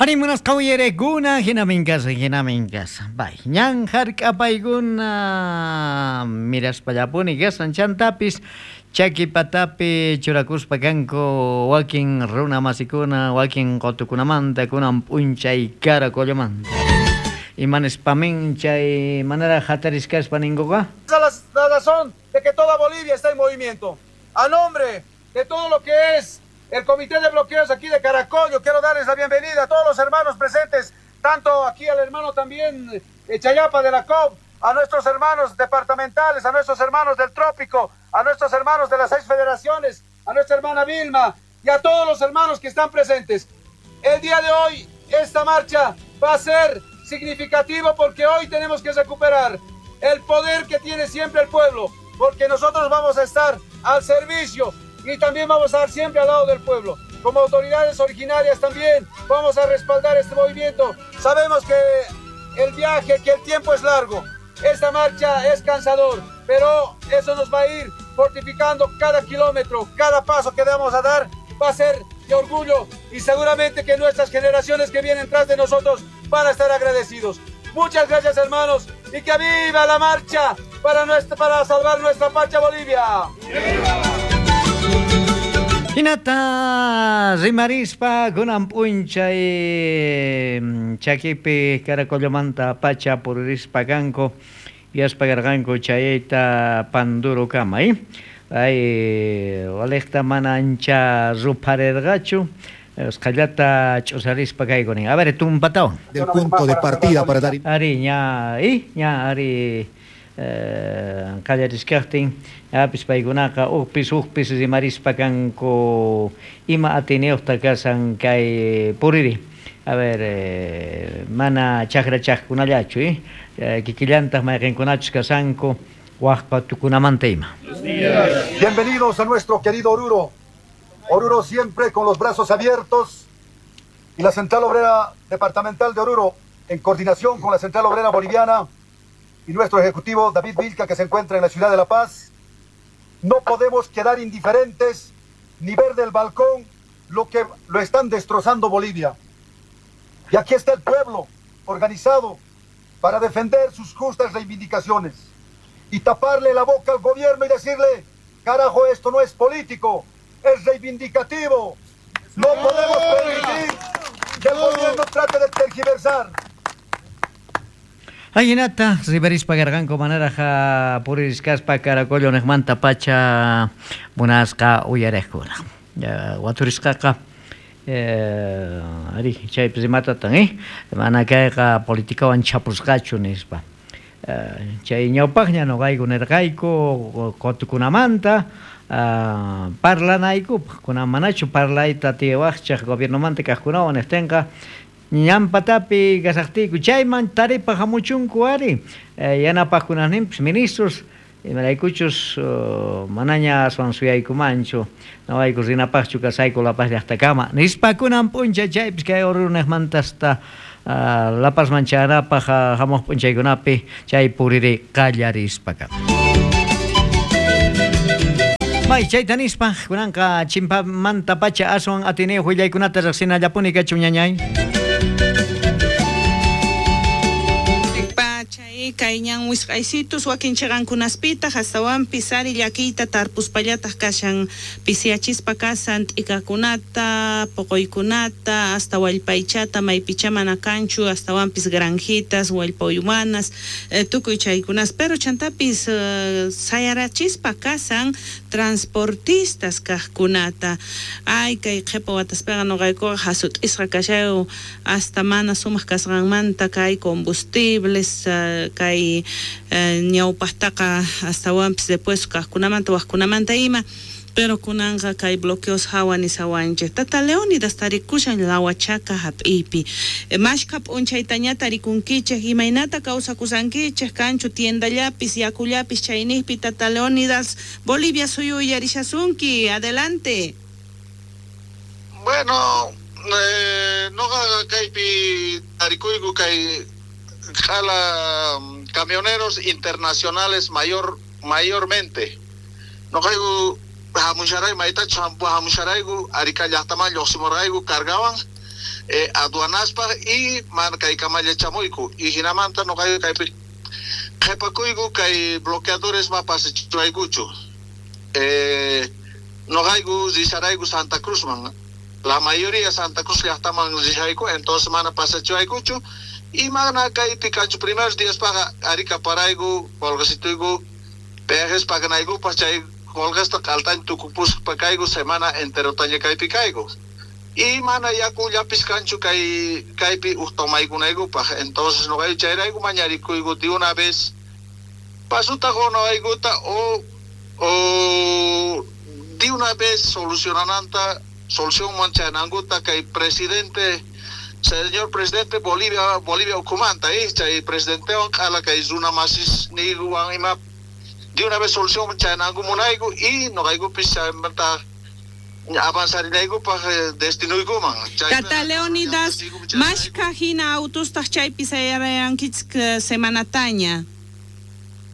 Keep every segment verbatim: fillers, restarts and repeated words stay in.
Arimunas qawyerekuna hinamin kasa hinamin kasa. Bay, ñan hark'apaykuna miraspallapuni kasan chantapis chaki patapi churakuspa kanku wakin runa masikuna wakin qotukunamanta kunan p'unchay Caracollomanta. Imanispamin chay manera hatarisqaspa ninkuqa? Esa es la razón de que toda Bolivia está en movimiento. A nombre de todo lo que es el Comité de Bloqueos aquí de Caracollo, quiero darles la bienvenida a todos los hermanos presentes, tanto aquí al hermano también Chayapa de la C O B, a nuestros hermanos departamentales, a nuestros hermanos del Trópico, a nuestros hermanos de las seis federaciones, a nuestra hermana Vilma y a todos los hermanos que están presentes. El día de hoy, esta marcha va a ser significativo porque hoy tenemos que recuperar el poder que tiene siempre el pueblo, porque nosotros vamos a estar al servicio y también vamos a estar siempre al lado del pueblo. Como autoridades originarias también vamos a respaldar este movimiento. Sabemos que el viaje, que el tiempo es largo, esta marcha es cansador, pero eso nos va a ir fortificando cada kilómetro, cada paso que damos a dar va a ser de orgullo y seguramente que nuestras generaciones que vienen tras de nosotros van a estar agradecidos. Muchas gracias, hermanos, y que viva la marcha para, nuestra, para salvar nuestra patria Bolivia. ¡Viva! Hinata rimarispa kunan p'unchay chakipi Caracollomanta pacha puririspa kanku yaspa karqanku chayayta Pandurukama, eh? Ay, walejta mana ancha rupharirqachu, usqhallata ch'usarispa kaykunin. A ver, tumpatawan. Del punto de partida para dar... Ari, ña, eh? Ña, ari... Eh, qallariskaqtin apis paykunaqa uqpis uqpis rimarispa kanku ima atiniyuqta kasan kay puriri. A ver, eh, mana chakrachaqkunallachu, eh? Eh, kikillantaq mayqinkunachus kasanku waqpa tukunamanta ima. Bienvenidos a nuestro querido Oruro. Oruro siempre con los brazos abiertos y la Central Obrera Departamental de Oruro en coordinación con la Central Obrera Boliviana y nuestro ejecutivo David Vilca, que se encuentra en la ciudad de La Paz. No podemos quedar indiferentes ni ver del balcón lo que lo están destrozando Bolivia. Y aquí está el pueblo organizado para defender sus justas reivindicaciones y taparle la boca al gobierno y decirle, carajo, esto no es político, es reivindicativo. No podemos permitir que el gobierno trate de tergiversar. Ahinata rimarispa karqanku manaraja puririsqaspa Caracollo niqmanta pacha munasqa uyariqkuna. Waturisqaqa eh, ari chaypi rimatatan, eh? Mana kayqa politikawan chapusqachu nispa. Eh, chay ñawpaqña nuqayku nirqayku qotukunamanta uh, parlanaykupaq kunan manachu parlayta tiwaqchaq gobiernomanta kaqkunawan niqtinqa ñampatapi kasaqtiyku chayman taripa hamuchunku ari eh, yanapaqkunasninpis ministros imaraykuchus uh, manaña aswan suyaykumanchu nawayku rinapaqchu kasayku La Paz llaqtakama nispa kunan p'unchay chaypis kay Orurunejmantasta uh, La Pazman chayanapaq uh, hamuq p'unchaykunapi chay puriri qallarispaka. Bay, chayta nispa kunanqa chimpamanta pacha aswan atiniyuq willaykunata riqsinallapuni kachun ñañay. Kay ñan wisq'aysitus wakin chiqankunaspitaq astawanpis ari llakiyta tarpuspallataq kashan pisiyachispa kasan t'ikakunata poqoykunata hasta wallpaychata maypicha mana kanchu astawanpis granjitas wallpa uywanas eh, tukuy chaykunas pero chantapis eh, sayarachispa kasan transportistas kaqkunata ay kay qhipa wataspiqa nuqaykuqa hasut'isqa kashayu hasta mana sumaq kasqanmanta kay combustibles eh, kay ñawpaqtaqa astawanpis después kaqkunamanta waqkunamanta ima pero kunanqa kay bloqueos hawa nisawanchik Tata Leónidas tarikushan Lawachaka hap'iypi mashka p'unchaytaña tarikunkichik imaynata kawsakusankichik kanchu tiendallapis yakullapis chayniqpi Tata Leónidas Bolivia suyu uyarishasunki adelante. Bueno, eh, noqa kaypi tarikuyku kay jala camioneros internacionales mayor mayormente noqayku hamusharayku maytachu hamusharayku Arica llaqtaman lluqsimurqayku cargawan eh, aduanaspa y mana kay kamalla chamuyku y hinamanta noqayku kaypi qhepakuyku kay bloqueadores ma pasachiwaykuchu eh, noqayku risharayku Santa Cruzman la mayoría Santa Cruz llaqtaman rishayku entonces mana pasachiwaykuchu y mana kaypi kanchu primeros días paga Arica parayku qolqesituyku peajes paganaykupaq chay qolqesta q'altaña tukupuspa kayku semana enterotaña kaypi kayku y mana yakullapis kanchu kay kaypi uj tomaykunaykupaq entonces noqayku chayrayku mañarikuyku de una vez pasuta qunawaykuta o o de una vez solucionananta solución chayanankuta kay presidente señor presidente Bolivia Bolivia ukhumanta eh chay presidentewan q'ala kay runa masis niywan ima de una vez solución chayananku munayku y noqaykupis chaymanta avanzarinaykupaq destinuykuman. Tata Leonidas, mashka hina autostaq chaypi sayarayankichik semanataña.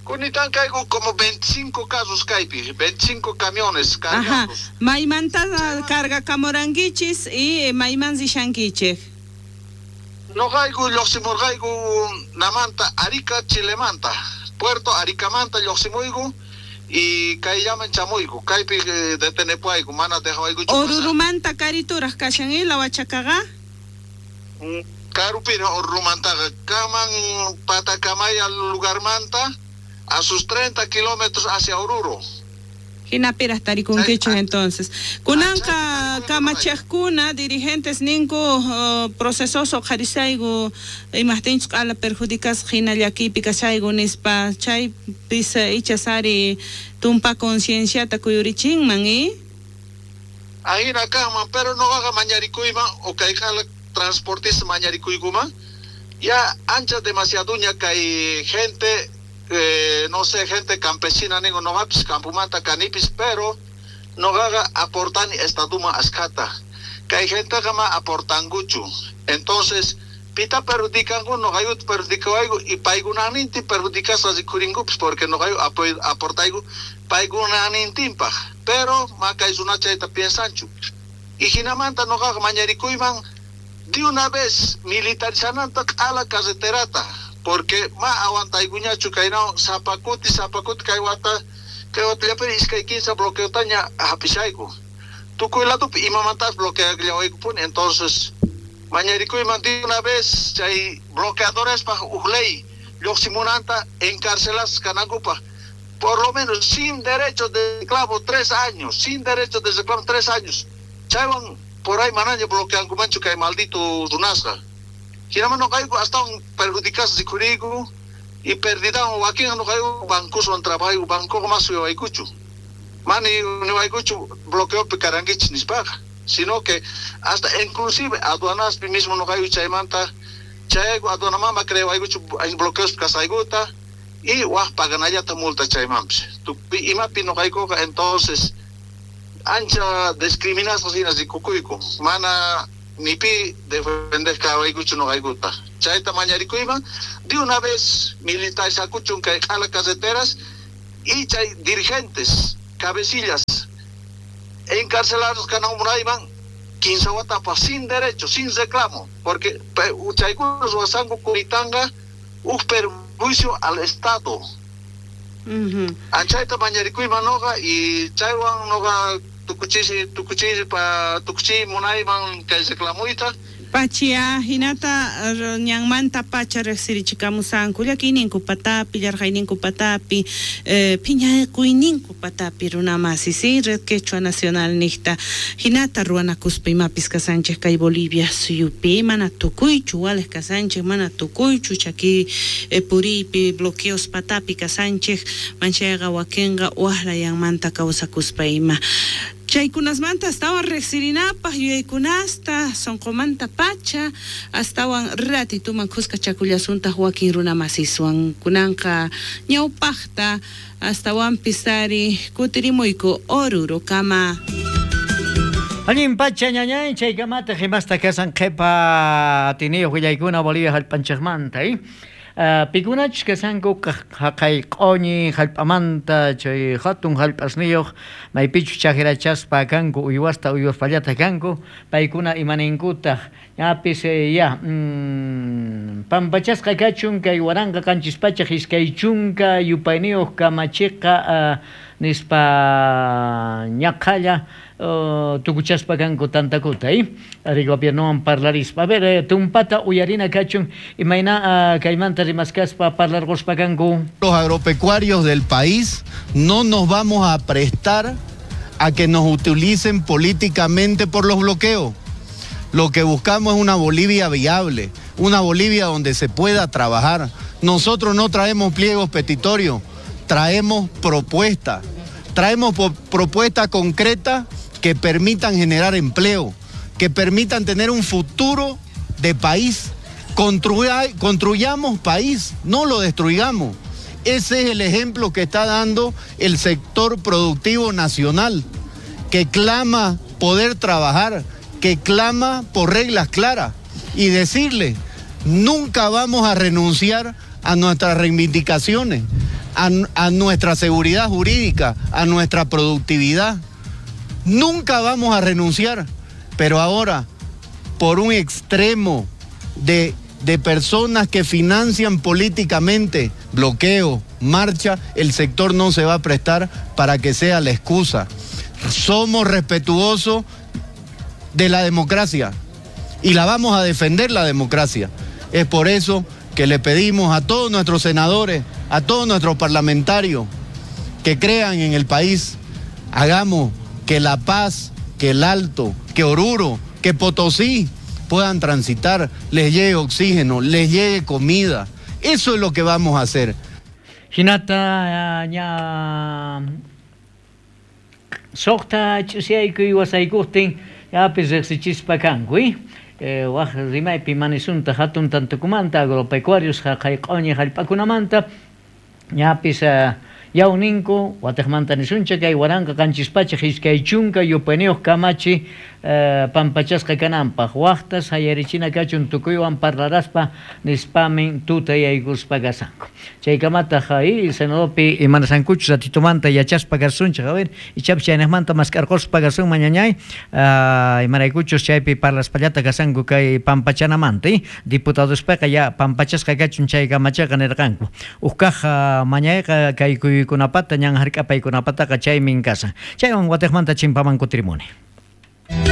Kunitan kayku como veinticinco casos kaypi, veinticinco camiones cargados. Ajá, maymanta cargakamurankichis y mayman rishankichik. Noqayku lluqsimurqayku namanta Arica Chilemanta, Puerto Aricamanta lluqsimuyku y kayllaman chamuyku, kaypi eh, detenepuayku, mana dejawaykuchu. Orurumanta karituraq kashan y Lawachakaqa? Karupina Orurumantaqa kaman Patacamaya lugarmanta a sus treinta kilómetros hacia Oruro. Hinapiraq tarikunkichik entonces. Kunanqa kamachiqkuna dirigentes ninku uh, procesoso qharisayku imaqtinchus q'ala perjudicasqa hina llakiypi kashayku nispa chaypis ichas ari tumpa concienciata kuyurichinman eh? Ahina kanman pero noqaqa mañarikuyman o kay q'ala transportista mañarikuykuman ya ancha demasiaduña kay gente Eh, no sé, gente campesina ningo noqapis campumanta kanipis pero noqaqa aportani estaduma askhata kay genteqa ma aportankuchu entonces pita perjudicanku noqaykuta perjudicawayku y paykunanintin perjudicasqa rikurinkupis porque noqayku aportayku paykunanintinpaq pero ma kay runa chayta piensanchu y hinamanta noqaqa mañarikuyman de una vez militarizananta q'ala carreterata porque ma aguantaykuñachu kaynawan sapakuti sapakuti kay wata kay watallapi iskay kinsa bloqueotaña hapishayku tukuy ladopi imamantapas bloqueallawaykupuni entonces mañarikuyman de una vez chay bloqueadorespaj uj ley lluqsimunanta encarcelasqa kanankupaq por lo menos sin derecho de reclamo tres años sin derecho de reclamo tres años chaywan por ahí manaña bloqueankumanchu kay maldito runasqa hinaman noqayku astawan perjudicasqa rikhuriyku y perdidawan wakinqa noqayku bancoswan trabajayku bancoqa mas suyawaykuchu mani niwaykuchu bloqueopi karankichis nispaqa sino que hasta inclusive aduanaspi mismo noqayku chaymanta chayayku aduanamama creewaykuchu bloqueospi kasaykuta y waj paganallata multa chaymanpis tukuy imapi noqaykuqa entonces ancha discriminasqa hina rikukuyku mana ni pi defender kawaykuchu noqaykuta chayta mañarikuyman de una vez militarizakuchun kay q'ala carreteras y chay dirigentes cabecillas encarcelados kananmunayman kinsa watapaq sin derecho sin reclamo porque chaykuna ruwasanku kuritanqa uj perjuicio al Estado. Uh-huh. Anchayta mañarikuyman noqa y chaywan noqa tukuchisi tukuchisi pa tukuchi munayman kay reclamuyta Pachia hinata ñanmanta pacha riqsirichikamusanku llakiyninku patapi llarqayninku patapi eh, phiñakuynin patapi runamasi si Red Quechua Nacional niqta hinata ruwanakuspa imapis kasanchik kay Bolivia suyupi mana tukuychu waliq kasanchik mana tukuychu chaki eh, puriypi bloqueos patapi kasanchik manchayqa wakinqa waqlayanmanta kawsakuspa ima chaykunasmanta astawan riqsirinapaq yuyaykunasta sunqumanta pacha astawan ratituman khuska chakullasuntaq wakin runamasiswan kunanqa ñawpaqta astawanpis ari kutirimuyku Orurokama. Allin pacha ñañay chaykamata himasta kasan qhipa atiniyuq willaykuna Bolivia hallp'anchikmanta eh? Uh, pikunachus kasanku haqay q'uñi hallp'amanta chay hatun hallp'asniyuq maypichus chajrachaspa kanku uywasta uywaspallata kanku paykuna imaninkutaq Ñapis ya mm, pampachasqa kachun kay waranqa qanchis pachaj iskay chunka yupayniyuq kamachiqa uh, nispa ñaqhalla uh, tukuchaspa kanku tantakuta eh? Ari gobiernowan parlarispa. A ver, eh, tumpata uyarina kachun imayna uh, kaymanta rimaskaspa parlarquspa kanku. Los agropecuarios del país no nos vamos a prestar a que nos utilicen políticamente por los bloqueos. Lo que buscamos es una Bolivia viable, una Bolivia donde se pueda trabajar. Nosotros no traemos pliegos petitorios, traemos propuestas. Traemos propuestas concretas que permitan generar empleo, que permitan tener un futuro de país. Construya, construyamos país, no lo destruyamos. Ese es el ejemplo que está dando el sector productivo nacional, que clama poder trabajar, que clama por reglas claras y decirle, nunca vamos a renunciar a nuestras reivindicaciones, a, a nuestra seguridad jurídica, a nuestra productividad. Nunca vamos a renunciar, pero ahora, por un extremo de, de personas que financian políticamente bloqueo, marcha, el sector no se va a prestar para que sea la excusa. Somos respetuosos de la democracia y la vamos a defender, la democracia. Es por eso que le pedimos a todos nuestros senadores, a todos nuestros parlamentarios que crean en el país, hagamos que La Paz, que el Alto, que Oruro, que Potosí puedan transitar, les llegue oxígeno, les llegue comida. Eso es lo que vamos a hacer. Hinata ña suqta ch'usiyaykuy wasaykuptin yapis riqsichispa kanku, eh, waj rimaypi manisunta hatun tantukumanta agropecuarios jaqay q'uñi jallp'akunamanta ñapis uh, yawninku wataqmanta nisuncha kay waranqa qanchis pachaj iskay chunka yupayniyuq kamachi uh, pampachasqa kananpaq waqtas hayarichina kachun tukuywan parlaraspa nispamin tutayaykuspa kasanku. Chaykamataq ay senadopi imanasankuchus ratitumanta yachaspa kasunchik, a ver, ichapis chaynaqmanta mask'arquspa kasun mañañay, uh, imaraykuchus chaypi parlaspallata kasanku kay pampachanamanta, eh? Diputadospaqa ya pampachasqa kachun chay kamachaqa nirqanku. Uqkaq uh, mañayqa kay kuykunapata ñan hark'apaykunapataqa chaymin kasan. Chaywan wataqmanta chimpaman kutirimuni.